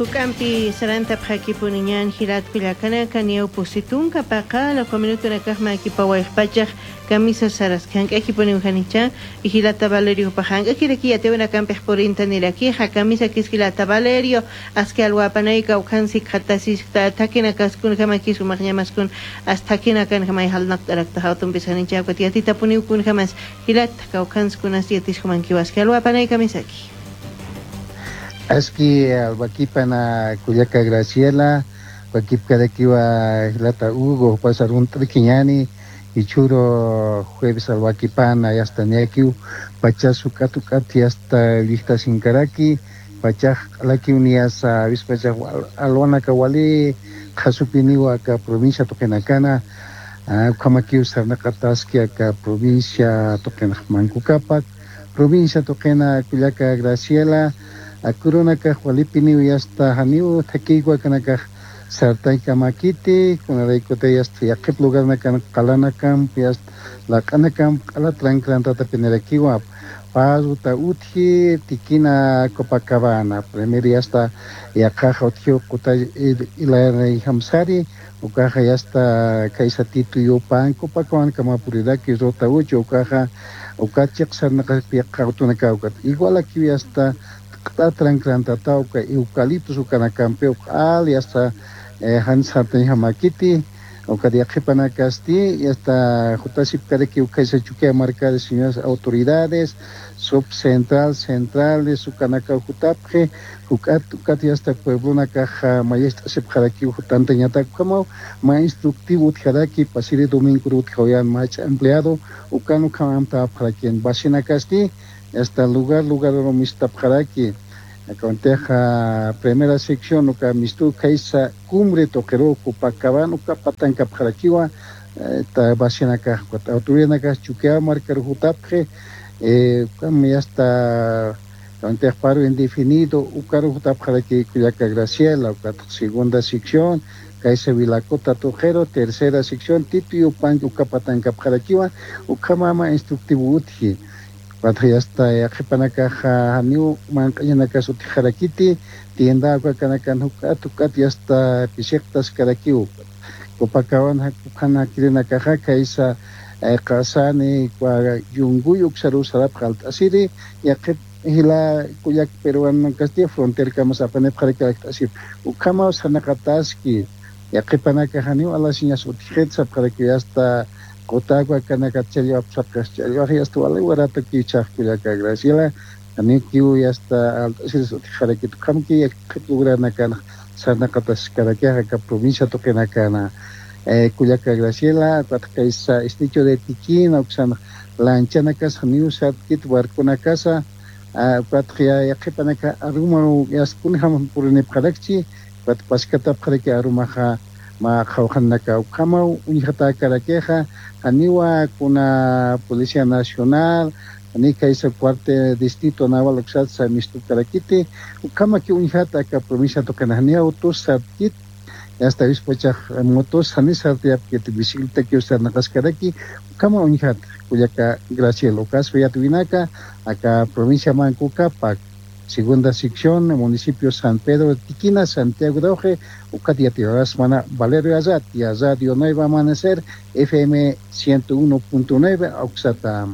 Hukampi saranta phakipuniñan hilat kullakanaka niawpusitunka paqala minuto nakaqma akipawayqpachaq camisa saras hank'akipuni hanicha y hilata Valerio pahank'akiraki yatewna kampiq purinta nirakiqa camisa kiskilata Valerio aski alwapanayka ukhansi qhatasis thakina kaskun hamakis umaqñamaskun as thakina kan hamay halnaqtarakta hawtunpis hanicha yatita puniukun hamas hilat kawkhanskunas yatis humankiwas alwapanay kamisaki. Aski albaquipana Culiaca Graciela, Huaquipcaraquiwa Lata Hugo, pasarun triquiñani, Ichuro jueves albaquipana, hasta Niaquiu, Pachasu Catucati hasta Vista Sincaraki, Pachaj Laki Unias, Vispachaj Alwana Kawali, Jasupiniwa acá provincia Toquenacana, Kamakiu Sarnacataski acá provincia Toquenajmancucapac, provincia Toquena Culiaca Graciela, Akurunaka Jualipiniu yasta haniu takiwa kanaka sartayka makiti kunaraykute yasta yaqip lugar nakan qalanakan yasta laq'anakan q'ala tranquilantata pinirakiwa pazuta uthi tikina Copacabana primero yasta yaqaja uthi quta ilayana hamsari ukaja yasta kaysa Tito Yupan Copacabana kamapuriraki rota uchi ukaja ukachiq sarnaqa piqa utunaka ukat igual aquí yasta tranquilantata uka eucaliptus ukanakampi uq'al yasta hansartan hamakiti uka diaqipana kasti hasta jutasip karaki ukaysa chukia marca de señoras autoridades subcentral centrales ukanaka jutapje ukat ukat hasta pueblona caja mayesta sip jaraki jutanta ñata como ma instructivo utjaraki pasiri domingo utjoyan mach empleado ukanu kamamta apjaraki basina kasti hasta lugar lugar ro mistapjaraki aconteja primera sección uka mistu kaisa cumbre toquero Copacabana uka patanka pjarakiwa ta basina ka autoridad ka chuquea marcar jutapje kam hasta aconteja paro indefinido ukaru jutapjaraki Culiaca Graciela uka segunda sección kaisa Vilacota Tojero tercera sección Tito Yupan uka patanka pjarakiwa uka mama instructivo utji Cuando hasta yaqipanakaja haniu manq'añanaka sutijarakiti tienda kanaka hukat hukat hasta pishiqtas karakiu Copacabana kukana kirinakaja kaysa qasani kwa yunguy uksaru sarap qalt'asiri yaqip hila kuyak peruano Castilla frontera kamas apanep qarakarak'asir ukama sanaqataski yaqipanaka haniu alasiñas utijet sapqaraki hasta Cotagua kanaka challo apsapkas challo hasta wala warato kichaq Culiaca Graciela anikiu hasta altasir utijaraki tukamki yaqip sanaqatas karakiaja ka provincia toquenacana Culiaca Graciela kaisa esticho de Tiquina uksana lanchana casa niusat kit barcona casa patria yaqipanaka aruma yaskunjam purinipqarakchi pat paskatapqaraki arumaja ma qhawqanaka ukama uñjata karakeja aniwa kuna Policía Nacional ani kaisa cuartel distrito naval uksatsa mistu karakiti ukama ki uñjata ka provincia toquenajnia autos sarkit hasta vispochaj motos hanisartiap que bicicleta que usar naqaskaraki ukama uñjata Culiaca Graciela ukas yatuinaka acá provincia Manco Cápac segunda sección municipio San Pedro de Tiquina Santiago de Oje Ucatia Mana Valerio Azat y Radio Nueva Amanecer FM 101.9 Oxata.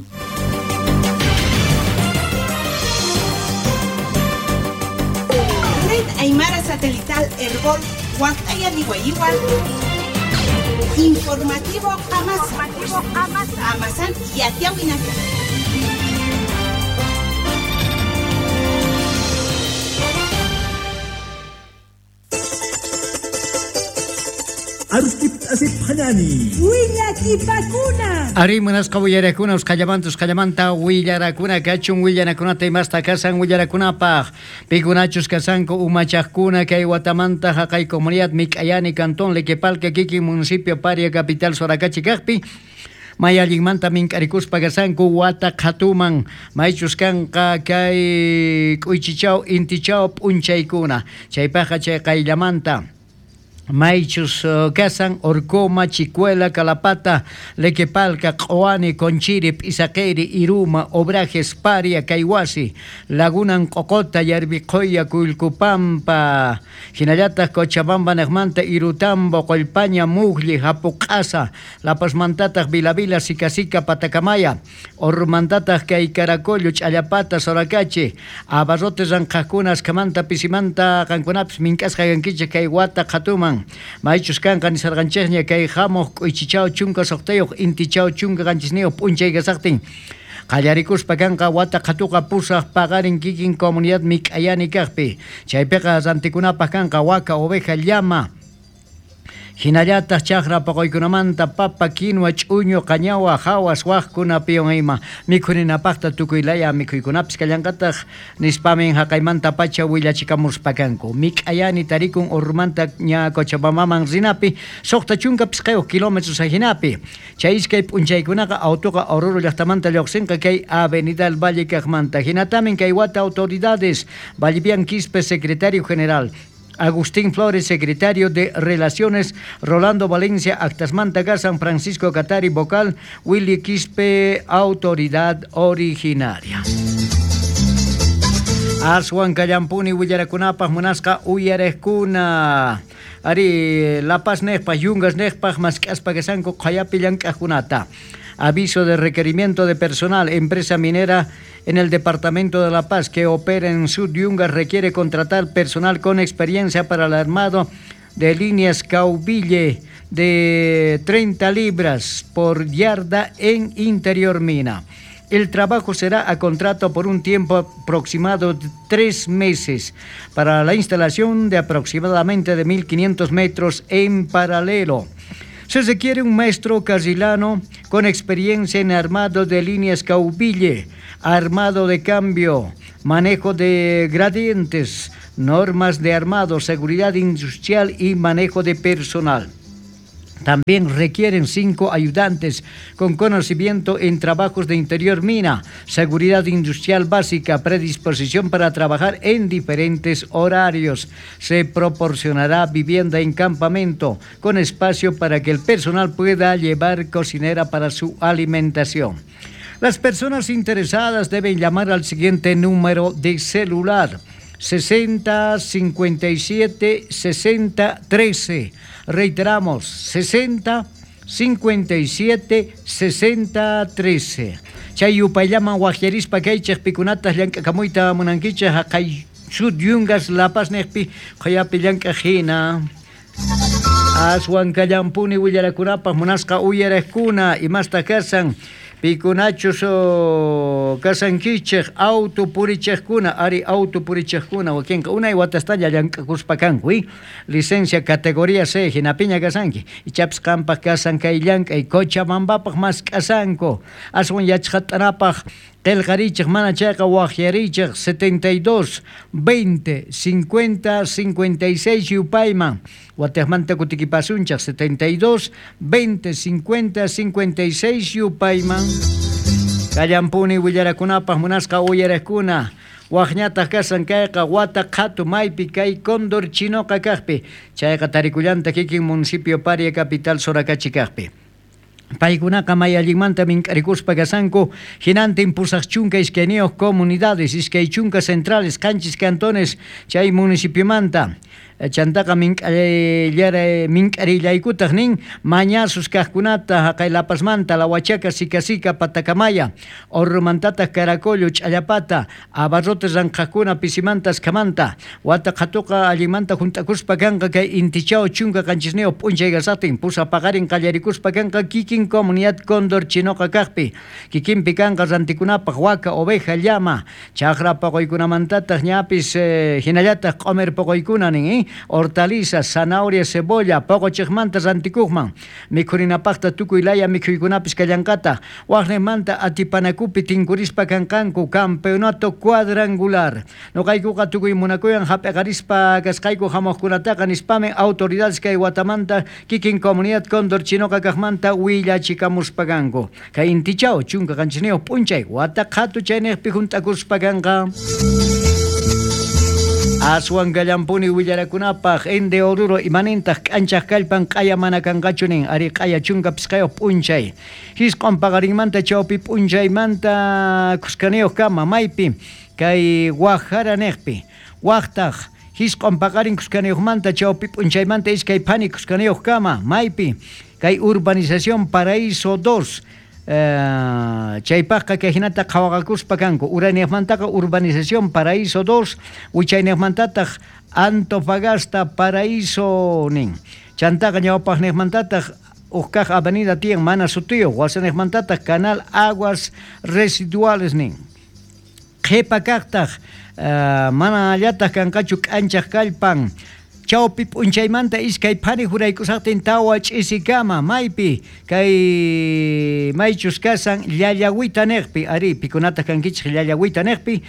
Red Aymara Satelital Herbol Huactaya Igual Informativo Amazon Amazon y Atiahuinaca. Ari munasqa willarakuna usqallamanta usqallamanta willarakuna kachun willanakunata imasta kasan willarakunapaq pikunachus kasanku umachaqkuna kay watamanta haqay comunidad Mik'ayani cantón Lequepalca kikin municipio Paria capital Sorakachi kaqpi may allinmanta mink'arikuspa kasanku wata qhatuman maychus kanqa kay k'uychichaw intichaw p'unchaykuna chaypaqqa chay qayllamanta Maychus kasan Orcoma, Chicuela, Calapata, Lequepalca, Q'uani, Conchiri, P'isaqiri, Iruma, Obrajes, Paria, Kayhuasi, Laguna Nqoqota, Yarbiqoya, Kullkupampa, hinallataq Cochabamba nejmanta, Irutambo, Qollpaña, Mujli, Japuq'asa, La Pazmantataq Vilavila, Sicasica, Patacamaya, Ormantataq kay Caracollo, Ch'allapata, Soracachi, Abarrotes ranqhaqkuna, askamanta, pisimanta, qankunapis mink'asqa kankichik kay wata qhatuman. Maychus kanqa nisarqanchikña kay hamuq k'uychichaw chunka suqtayuq intichaw chunka qanchisniyuq p'unchay kasaqtin qallarikuspa kanqa wata qhatuqa pusaq paqarin kikin comunidad mik'ayani kaqpi chaypiqa rantikunapaq kanqa waka, oveja, llama hinallataq chaqra paquykunamanta papa, quinua, ch'uñu, qañawa, hawas, waqkunapiwan ima mikhuninapaqta tukuy laya mikhuykunapis kallanqataq nispamin haqaymanta pacha willachikamuspa kanku mik'ayani tarikun Ormanta ña Cochabambaman rinapi 65 kilómetros ajinapi chay iskay p'unchaykunaqa autoqa Oruro llaqtamanta lluqsinqa kay Avenida del Valle kaqmanta hinatamin kay wata autoridades Vallivian Quispe, secretario general, Agustín Flores, secretario de Relaciones, Rolando Valencia, Actasmanta San Francisco Catari, vocal, Willy Quispe, autoridad originaria. Aswan kallampuni willarakunapaq munasqa uyarejkuna. Ari La Paz nejpaj, Yungas nejpaj, mask'aspa kasanku qhayapi llank'ajkunata. Aviso de requerimiento de personal. Empresa minera en el departamento de La Paz que opera en Sud Yungas requiere contratar personal con experiencia para el armado de líneas caubille de 30 libras por yarda en interior mina. El trabajo será a contrato por un tiempo aproximado de 3 meses para la instalación de aproximadamente de 1.500 metros en paralelo. Se requiere un maestro carrilano con experiencia en armado de líneas caubille, armado de cambio, manejo de gradientes, normas de armado, seguridad industrial y manejo de personal. También requieren 5 ayudantes con conocimiento en trabajos de interior mina, seguridad industrial básica, predisposición para trabajar en diferentes horarios. Se proporcionará vivienda en campamento con espacio para que el personal pueda llevar cocinera para su alimentación. Las personas interesadas deben llamar al siguiente número de celular: 60 57 60 13. Reiteramos, 60 57 60 13. Chay yupayllaman waqyarispa kaychej pikunatas llank'akamuyta munankichej haqay Sud Yungas La Paz nejpi qhayapi llank'aj hina. Aswan kallampuni willarakunapaq munasqa uyarejkuna imasta kasan pikunachus kasankichej auto purichejkuna, ari auto purichejkuna wakinqa unay watastalla llank'akuspa kanku, licencia categoría C hinapiña kasanki ichapis qampaq kasan kay llank'ay Cochabambapaq mask'asanku aswan yachqat'anapaq qillqarichej mana chayqa waqyarichej 72 20 50 56 yupayman watejmanta kutikipasunchej 72 20 50 56 yupayman kallampuni willarakunapaq munasqa uyarejkuna waqñataq kasan kayqa wata qhatu maypi kay Cóndor Chinoqa kaqpi chayqa tarikullanta kikin municipio Paria capital Soracachi kaqpi. Paykunaqa may allinmanta mink'arikuspa kasanku hinantin 82 comunidades, 20 centrales, 7 cantones chay municipiomanta. Chantaqa mink'arillaykutaq nin mañasus kaqkunata haqay La Pazmanta, La Huachaca, Sicasica, Patacamaya, Orromantataq Caracollo, Ch'allapata, Abarrotes ranqhaqkuna pisimanta askamanta, wata qhatuqa allinmanta hunt'akuspa kanqa kay intichaw 17 p'unchay kasatin pusa paqarin qallarikuspa kanqa kikin comunidad Cóndor Chinoqa kaqpi kikinpi kanqa rantikunapaq waka, oveja, llama, chaqra paquykunamantataq ñapis hinallataq q'umir paqaykuna nin hortalizas, zanahoria, cebolla, poqochejmanta rantikujman, mikhurinapaqta tukuy laya mikhuykunapis kallanqata, waqnejmanta atipanakupi tinkurispa kanqanku campeonato cuadrangular. Noqaykuqa tukuy munakuyan hap'eqarispa kasqayku hamuqkunataqa nispamin autoridades kay watamanta kikin comunidad Cóndor Chinoqa kaqmanta willachikamuspa kanku. Kay intichaw 17 p'unchay wata qhatu chaynejpi hunt'akuspa kanqa. Aswan gallampuni willarakunapaq ende Oruro imanintaq k'anchaq kallpan q'aya mana kanqachu nin ari q'aya chunka pisqayuq p'unchay. Hisq'un paqarinmanta chawpi p'unchaymanta kuskaniyuq kama maypi kay Wajara niqpi. Waqtaq hisq'un paqarin kuskaniyuqmanta chawpi p'unchaymanta iskay phani kuskaniyuq kama maypi kay urbanización Paraíso 2. Chaypaqqa kay hinata qhawaqakuspa kanku uraniaqmantaqa urbanización Paraíso 2 wichayniqmantataq Antofagasta Paraíso nin chantaqa ñawpaqniqmantataq uqkaq avenida tiyan mana sutiyuq wasaniqmantataq canal aguas residuales nin qhipa kaqtaq mana allataq kanqachu k'anchaq kallpan chawpi p'unchaymanta iskay phani juraykusaqtin tawa ch'isikama maypi kay maychus kasan llallawita niqpi ari pikunataq kankichik llallawita niqpi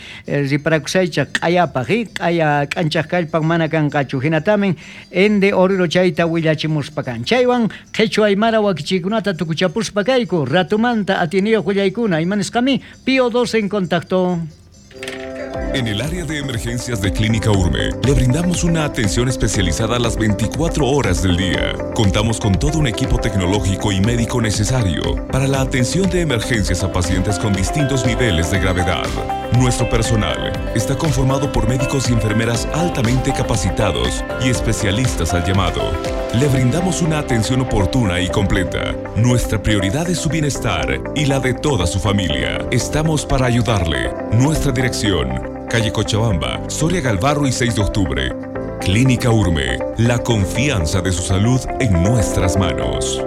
riparakusaychaq q'ayapaq q'aya k'anchaq kallpan mana kanqachu hinatamin ende Oruro chayta willachimuspa kan chaywan qhichwa aymara wakichiykunata tukuchapuspa kayku ratumanta atiniyuq willaykuna imanisqami Pío 12 en contacto. En el área de emergencias de Clínica Urme, le brindamos una atención especializada a las 24 horas del día. Contamos con todo un equipo tecnológico y médico necesario para la atención de emergencias a pacientes con distintos niveles de gravedad. Nuestro personal está conformado por médicos y enfermeras altamente capacitados y especialistas al llamado. Le brindamos una atención oportuna y completa. Nuestra prioridad es su bienestar y la de toda su familia. Estamos para ayudarle. Nuestra dirección: calle Cochabamba, Soria Galvarro y 6 de octubre. Clínica Urme, la confianza de su salud en nuestras manos.